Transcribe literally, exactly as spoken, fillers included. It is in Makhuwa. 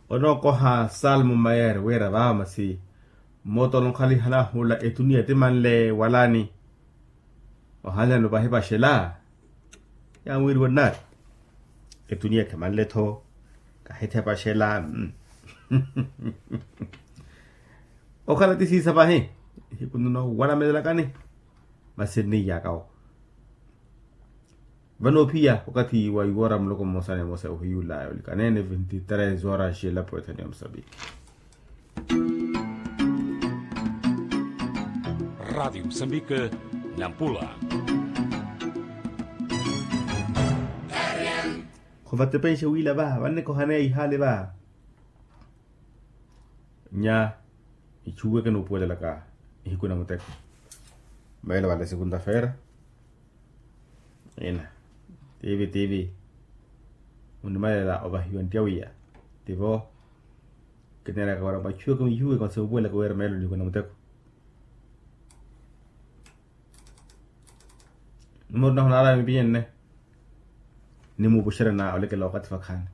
Onookoha salmo mayere wira vaamasi. Moto onokhaliha nahula etuniya ti manle walani. Ohanlani opahipaxela. Yanwiriwa nnari. Etuniya khemanle-tho. Kahithepaxela. Okhala ti siisa pahi. Ihiku nno walamelelakani. Masi nniyaka oko. Vano ophiya wakathi wa iwora muloko mmosa na emosa ohiyula yolikaneene vinti tres horas elapo ethani ya musambiki. Ratio musambiki. Nampula. Khuvatepenxe wiila va vannekohaneya ihaali va. Nya ichuweke nuupuwelelaka ihiku na muteko. Meelo vale sikunta feera ina tivi tivi munimalela ovahiwa nttyawiya. Tivo kineeraka wara mwachuweke mwihuweke masi mupuwelelaka wira meelo nihiku na muteko. Numero nahunaraya mipiyenne nimuupuxerya na olekela wakathi vakhaani.